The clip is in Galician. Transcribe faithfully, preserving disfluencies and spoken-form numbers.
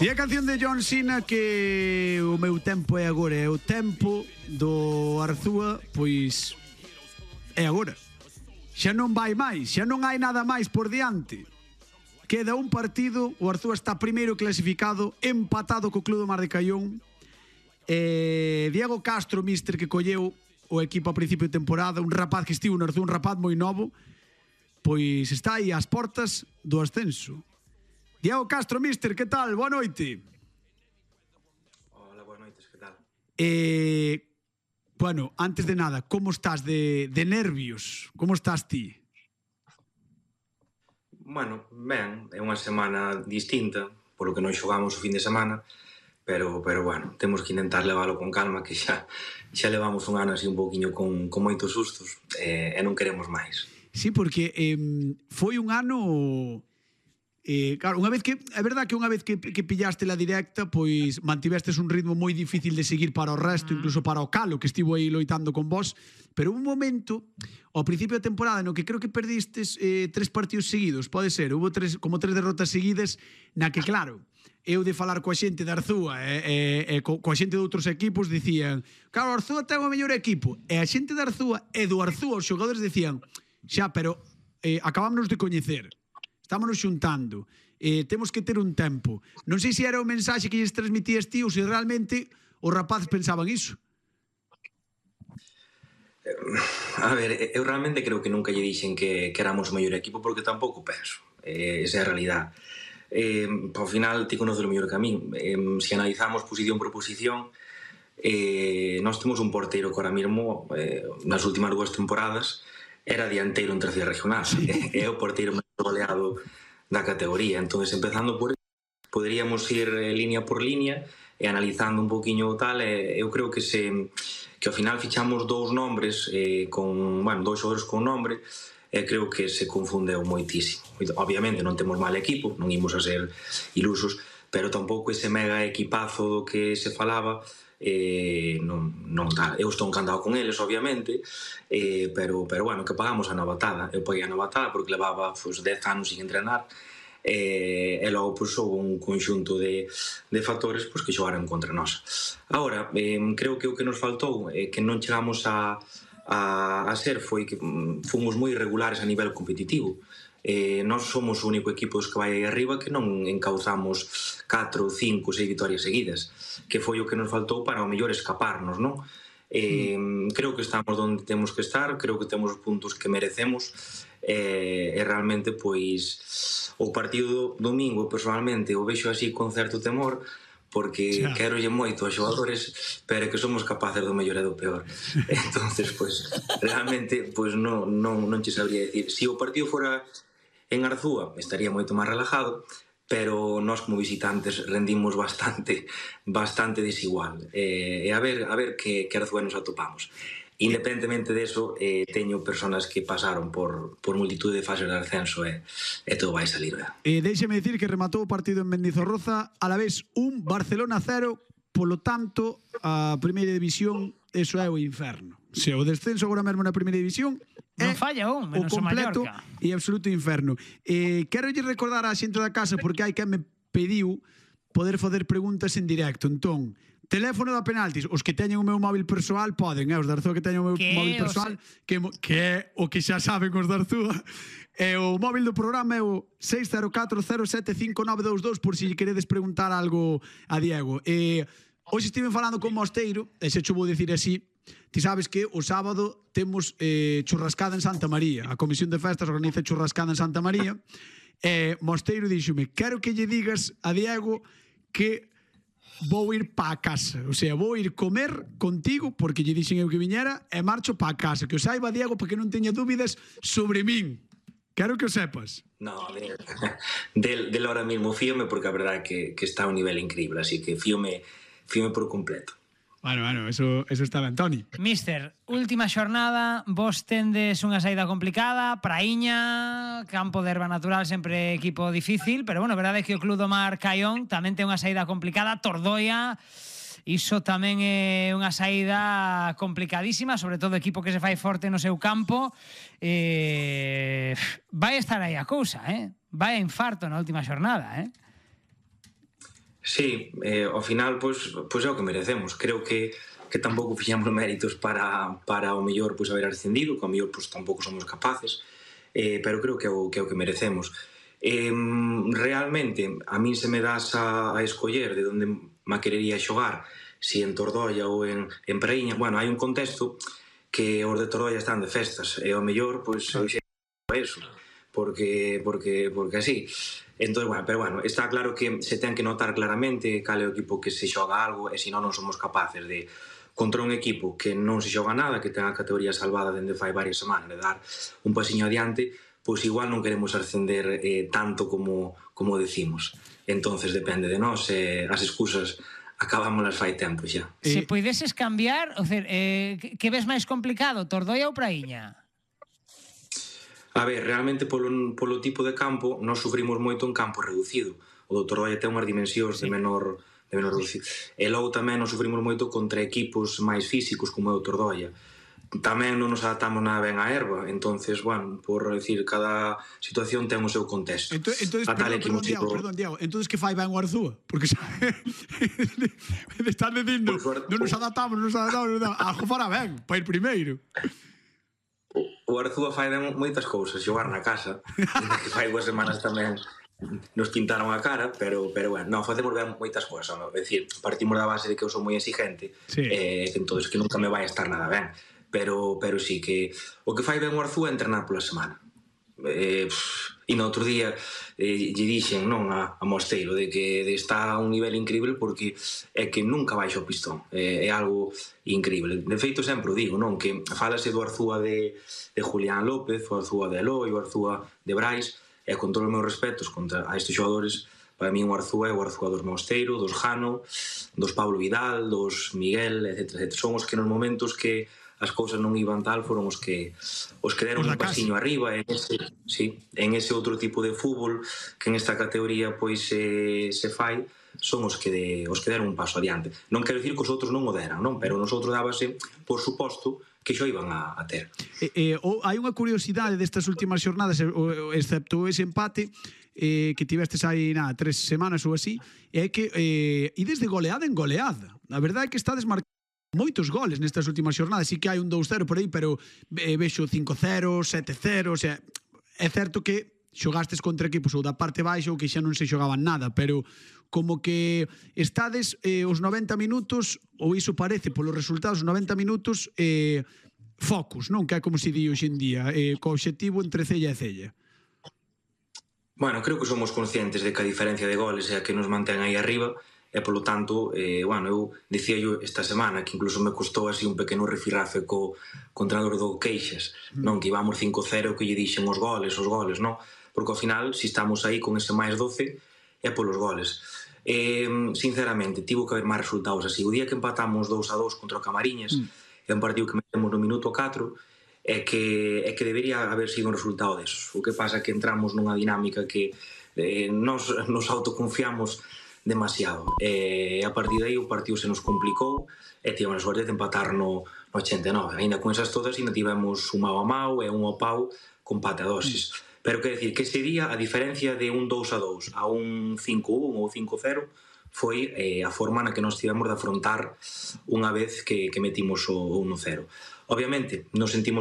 E a canción de John Cena que o meu tempo é agora, é o tempo do Arzúa, pois é agora. Xa non vai máis, xa non hai nada máis por diante. Queda un partido, o Arzúa está primeiro clasificado, empatado co Club do Mar de Caión. Eh, Diego Castro, mister, que colleu o equipo a principio de temporada, un rapaz que estivo no Arzúa, un rapaz moi novo, pois está aí ás portas do ascenso. Diego Castro, mister, que tal? Boa noite. Hola, boas noites, que tal? Eh, bueno, antes de nada, como estás de, de nervios? Como estás ti? Bueno, ben, é unha semana distinta, polo que non xogamos o fin de semana, pero, pero bueno, temos que intentar leválo con calma, que xa, xa levamos un ano así un poquinho con, con moitos sustos, eh, e non queremos máis. Sí, porque eh, foi un ano... Eh, claro, unha vez que é verdad que unha vez que, que pillaste la directa, pois mantivestes un ritmo moi difícil de seguir para o resto, incluso para o Calo, que estivo aí loitando con vos, pero un momento ao principio da temporada no que creo que perdistes eh, tres partidos seguidos, pode ser, hubo tres, como tres derrotas seguidas, na que claro, eu de falar coa xente de Arzúa e, e, e co, coa xente de outros equipos dicían, claro, Arzúa ten o mellor equipo, e a xente de Arzúa e do Arzúa os xogadores dicían, xa, pero eh, acabámonos de coñecer, estámonos xuntando, eh, temos que ter un tempo. Non sei se era o mensaxe que lles transmitías ti ou se realmente os rapaces pensaban iso. A ver, eu realmente creo que nunca lle dixen que, que éramos o mellor equipo, porque tampouco penso, eh, esa é a realidade. Eh, ao final ti conoces o mellor que a min. Eh, se analizamos posición por posición, eh, nós temos un porteiro que ahora mismo, eh, nas últimas dúas temporadas, era dianteiro en terceira regional, sí. É o porteiro máis goleado da categoría. Entón, empezando por poderíamos ir eh, línea por línea e analizando un poquinho tal, eh, eu creo que se que ao final fichamos dous nombres eh, con, bueno, dous xogadores con nombre, e creo que se confundeu moitísimo. Obviamente non temos mal equipo, non imos a ser ilusos, pero tampouco ese mega equipazo do que se falaba, eh, non, non tal. Eu estou encantado con eles, obviamente, eh, pero, pero bueno, que pagamos a novatada. Eu paguei a novatada porque levaba pues, dez anos sin entrenar, eh, e logo pues, houve un conxunto de, de factores pues, que xogaron contra nós. Agora, eh, creo que o que nos faltou é eh, que non chegamos a, a, a ser foi que mm, fomos moi irregulares a nivel competitivo. Eh, nós somos o único equipo que vai aí arriba que non encauzamos catro, cinco, seis vitorias seguidas, que foi o que nos faltou para o mellor escaparnos, non? Eh, mm. Creo que estamos onde temos que estar, creo que temos os puntos que merecemos, eh, e realmente pois o partido do domingo personalmente o vexo así con certo temor, porque xa. Quero lle moito aos xogadores, pero que somos capaces do mellor e do peor. Entonces, pois, realmente, pois non, non, non che sabría decir. Se o partido fora en Arzúa, estaría moito máis relajado, pero nós como visitantes rendimos bastante bastante desigual. E, e a ver, a ver que, que Arzúa nos atopamos. Independentemente deso, eh, teño personas que pasaron por, por multitud de fases de ascenso e, e todo vai salir ben. Eh, Déixeme dicir que rematou o partido en Mendizorroza, a la vez un, Barcelona cero, polo tanto, a primeira división, eso é o inferno. Se o descenso agora mesmo na primeira división non falla un, menos o completo Mallorca. E absoluto inferno. Eh, quero lle recordar á xente da casa, porque hai que me pediu poder fazer preguntas en directo. Entón, teléfono da penaltis, os que teñen o meu móvil persoal poden, eh, os de Arzúa que teñen o meu que móvil persoal, que, que é o que xa saben os de Arzúa. E o móvil do programa é o seis cero catro cero sete cinco nove dous dous por si queredes preguntar algo a Diego. E hoxe estive falando con Mosteiro, e se cho vou dicir así, ti sabes que o sábado temos eh, churrascada en Santa María. A Comisión de Festas organiza churrascada en Santa María. E Mosteiro díxome, quero que lle digas a Diego que vou ir pa casa, o sea, vou ir comer contigo, porque lle dixen eu que viñera, e marcho pa casa, que o saiba Diego, porque non teña dúbidas sobre min. Quero que o sepas. No, de, del, del ahora mismo fíome, porque a verdade é que, que está a un nivel increíble, así que fíome, fíome por completo. Bueno, bueno, eso, eso está ben, Toni. Mister, última xornada, vos tendes unha saída complicada, Praíña, campo de herba natural, sempre equipo difícil, pero bueno, verdade é que o Club do Mar Caión tamén ten unha saída complicada, Tordoia, iso tamén é unha saída complicadísima, sobre todo equipo que se fai forte no seu campo. Eh, vai estar aí a cousa, eh? Vai a infarto na última xornada, eh? Sí, eh, ao final, pois, pois é o que merecemos. Creo que que tampouco fixemos méritos para, para o mellor pois, haber ascendido, que ao mellor pois, tampouco somos capaces, eh, pero creo que é o que, é o que merecemos. Eh, realmente, a min se me das a, a escoller de onde me querería xogar, si en Tordoia ou en, en Praíña, bueno, hai un contexto que os de Tordoia están de festas, e ao mellor, pois, eu xe eso, porque, porque, porque así. Entón, bueno, pero bueno, está claro que se ten que notar claramente cal é o equipo que se xoga algo, e se non, non somos capaces de contra un equipo que non se xoga nada, que ten a categoría salvada dende fai varias semanas, de dar un pasiño adiante, pois igual non queremos ascender eh, tanto como, como decimos. Entonces depende de nós, eh, as excusas acabámolas fai tempo xa. Se poideses cambiar, o sea, eh, que ves máis complicado, Tordoia ou Praíña? A ver, realmente polo, polo tipo de campo, nós sufrimos moito en campo reducido. O do Tordoia ten unhas dimensións sí. de menor... de menor reducido. E logo tamén nos sufrimos moito contra equipos máis físicos como é o Tordoia. Tamén non nos adaptamos nada ben á herba, entonces, bueno, por decir, cada situación ten o seu contexto. Entón, entonces, perdón, perdón, Diago, perdón, Diago, entonces que fai ben o Arzúa? Porque xa... están dicindo, non nos adaptamos, non nos adaptamos, algo fará ben, para ir primeiro. O Arzúa fai ben moitas cousas, xogar na casa, que fai dúas semanas tamén nos pintaron a cara, pero, pero bueno, non, facemos ben moitas cousas, non? É dicir, partimos da base de que eu sou moi exigente, sí. eh, entonces que nunca me vai a estar nada ben, pero, pero sí que o que fai ben o Arzúa é entrenar pola semana. Eh, e no outro día eh, lle dixen non a, a Mosteiro de que de está a un nivel incrível porque é que nunca baixa o pistón, eh, é algo incrível. De feito sempre o digo, non, que falase do Arzúa de, de Julián López, o Arzúa de Eloi, o Arzúa de Brais, e con todos os meus respetos contra a estes xogadores, para mí o Arzúa é o Arzúa dos Mosteiro, dos Jano, dos Pablo Vidal, dos Miguel, etcétera, etcétera. Son os que nos momentos que as cousas non iban tal foron os que os que deron un pasiño arriba en ese, sí, en ese outro tipo de fútbol que en esta categoría pois se, se fai, son os que de, os que deron un paso adiante. Non quero dicir que os outros non o deran, non? Pero nosotros dábase por suposto que xo iban a, a ter. Eh, eh, oh, hai unha curiosidade destas últimas xornadas, excepto ese empate eh, que tivestes aí nada, tres semanas ou así, é que eh, ides de goleada en goleada. A verdade é que estades marcando moitos goles nestas últimas xornadas. Sí que hai un dous cero por aí, pero eh, vexo cinco cero, sete cero, o sea, é certo que xogastes contra equipos ou da parte baixa ou que xa non se xogaban nada, pero como que estades eh, os noventa minutos, ou iso parece polos resultados, os noventa minutos eh, focus, non? Que é como se di hoxe en día, eh, co obxectivo entre cella e cella. Bueno, creo que somos conscientes de que a diferencia de goles é a que nos mantén aí arriba, e polo tanto, eh, bueno, eu dicía yo esta semana que incluso me costou así un pequeno refirrafe co contrador do Queixas, non? Que íbamos cinco cero, que lle dixen os goles, os goles, non? Porque ao final, se si estamos aí con ese máis doce, é polos goles. Eh, sinceramente, tivo que haber máis resultados así. O día que empatamos dous a dous contra o Camariñas, mm. é un partido que metemos no minuto catro, é que, é que debería haber sido un resultado desos. O que pasa é que entramos nunha dinámica que eh, nos, nos autoconfiamos demasiado. E a partir de aí o partido se nos complicou e tivemos a sorte de empatar no, no ochenta e nove. Ainda con esas todas, ainda tivemos un mau a mau e un ao pau con pate a dosis. Mm. Pero quer decir que ese día a diferencia de un dous a dous a un cinco un ou cinco cero foi eh, a forma na que nos tivemos de afrontar unha vez que, que metimos o uno cero. Obviamente, nos sentimos